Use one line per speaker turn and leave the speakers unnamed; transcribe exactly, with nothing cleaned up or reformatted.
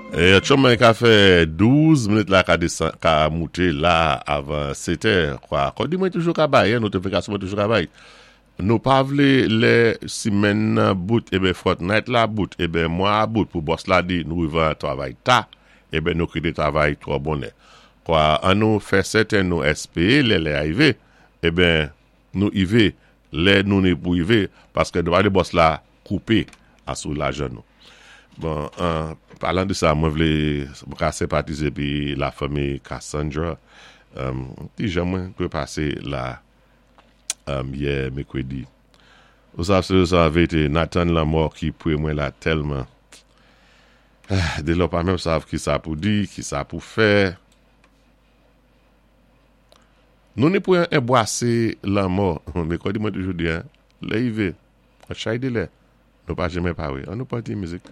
É aktyèlman ka fè douz minit la ka désann, ka mouté la avan sèt è, kwa. Kon di mwen toujou ka bay, en, notifikasyon mwen toujou ka bay. Nou pa vlé lè simenn nan bout, ében fortnight la bout, ében mwa bout pou boss la di nou rivé travay ta, ében nou kité travay twò bonè. Kwa, an nou fè sèten nou èspéwé lè lè arivé, ében nou ivé, lè nou ni pou ivé, paské nou pa vlé boss la koupé asou lajan nou. Bon, an palan di sa, mwen vlé mwen ka senpatizé pi la fanmi Cassandra, um, ti jan mwen dwé pasé la um, yè mèkwédi. Ou sav sé sa vété, Nathan lanmò ki pwé mwen la tèlman. Dé lò pa menm sav ki sa pou di, ki sa pou fè. Nou ni pou anbwasé lanmò, mèkwédi mwen toujou di, en, lè i vé, an chay dé lè, nou pa janmen pawé. An nou pati mizik.